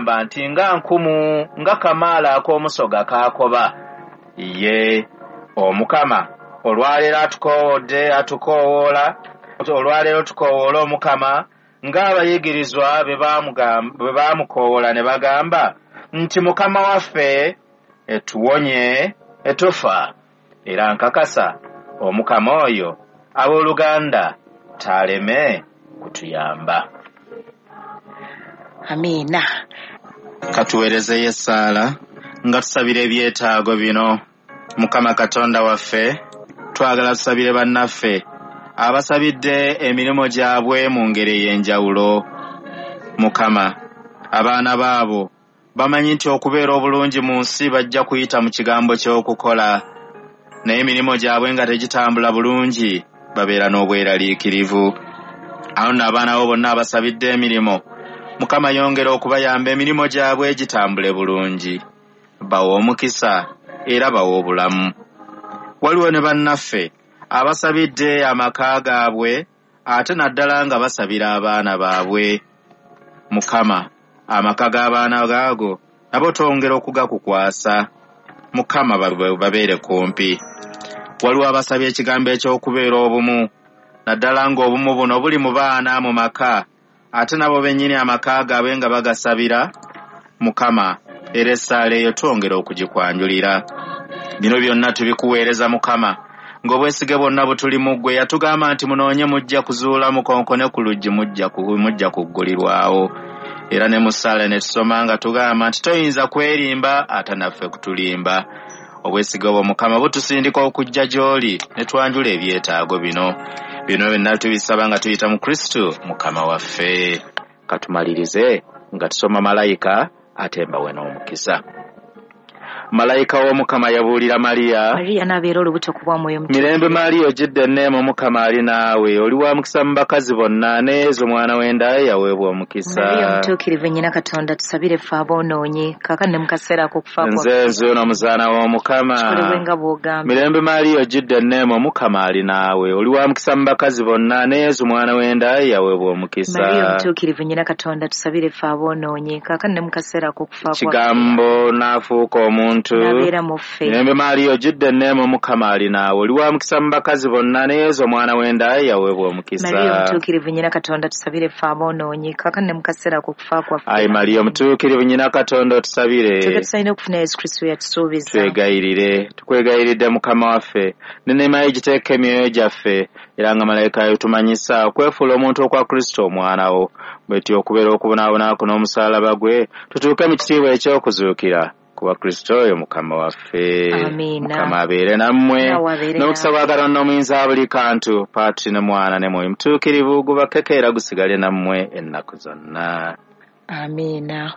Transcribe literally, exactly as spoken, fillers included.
Nti nga nkumu nga kamaala ak'omusoga kaakoba. Ye Omukama olwaleero atukoowodde, atukoowoola, olwaleero tukoowoola Omukama ng'abayigirizwa bwe baamukoowoola ne bagamba nti Mukama waffe etuwonye etufa. Era nkakasa Omukama oyo abooluganda taaleme kutuyamba. Amiina. Katuweerezeyo essaala nga tusabira ebyetaago bino. Mukama Katonda waffe, twagala tusabire bannaffe abasabidde emirimu gyabwe mu ngeri ey'enjawulo. Mukama, abaana baabo bamanyi nti okubeera obulungi mu nsi bajja kuyita mu kigambo ky'okukola, naye emirimu gyabwe nga tegitambula bulungi babeera n'obweraliikirivu. Awo nno abaana bo bonna abasabidde emirimu, Mukama yongera okubayamba emirimu gyabwe gitambule bulungi, bawe omukisa era bawe obulamu. Waliwo ne bannaffe abasabidde amaka gaabwe ate naddala nga basabira abaana baabwe. Mukama, amaka g'abaana gaago nabo twongera okugakukwasa. Mukama babeere kumpi. Waliwo abasabye ekigambo eky'okubeera obumu, naddala ng'obumu buno buli mu baana mu maka, ate nabo bennyini amaka gaabwe nga bagasabira. Mukama, era essaala eyo twongera okugikwanjulira. Bino byonna tubikuweereza Mukama, ng'obwesige bwonna butuli mu ggwe. Yatugamba nti munoonye mujja kuzuula, mukonkone ku luggi mujja kuggulirwawo. Era ne mu ssaala ne tusoma nga tugamba nti toyinza kwerimba ate naffe kutulimba. Obwesige obwo Mukama butusindika okujja gy'oli ne twanjula ebyetaago bino. Bino byonna tubisaba nga tuyita mu Kristo Mukama waffe. Katumalirize nga tusoma malayika ate mbawe n'omukisa. Malayika w'Omukama yabuulira Mariya. Mariya n'abeera olubuto ku bwa Mwoyo Mutukuvu. Mirembe Mariya ojjudde enneema, Omukama ali naawe, oli wa mukisa mu bakazi bonna, ne Yezu omwana w'enda ye yaweebwa omukisa. Mariya omutuukirivu nnyina Katonda, tusabire ffe aboonoonyi kaakano ne mu kaseera ak'okufa kwaffe. Nze nzuuno omuzaana w'Omukama. Kikolebwe nga bw'ogamba. Mirembe Mariya ojjudde enneema, Omukama ali naawe, oli wa mukisa mu bakazi bonna, ne Yezu omwana w'enda ye yaweebwa omukisa. Mariya omutuukirivu nnyina Katonda, tusabire ffe aboonoonyi kaakano ne mu kaseera ak'okufa kwaffe. Kigambo n'afuuka omuntu n'abeera mu ffe. Mirembe Mariya ojjudde enneema, Omukama ali naawe, oli wa mukisa mu bakazi bonna, ne Yezu omwana w'enda ye yaweebwa omukisa. Mariya omutuukirivu nnyina Katonda, tusabire ffe aboonoonyi kaakano ne mu kaseera ak'okufa kwaffe. Ayi Mariya omutuukirivu nnyina Katonda, otusabire. Tuge tusaanire okufuna Yesu Kristo yatusuubiza. Twegayirire, tukwegayiridde Mukama waffe, n'enneema ye giteeka emyoyo gyaffe, era nga malayika yatumanyisa okwefuula omuntu okwa Kristo omwana wo, bwetyo okubeera okubonaabona kwo n'omusaalaba gwe, tutuuke mu kitiibwa eky'okuzuukira kuba Kristo oyo Mukama waffe. Mukama abeere nammwe, n'omukisa gwa Katonda omuyinza buli kantu, Patri ne Mwana ne Mwoyo Mutuukirivu, gubakeke era gusigale nammwe ennaku zonna. Amiina.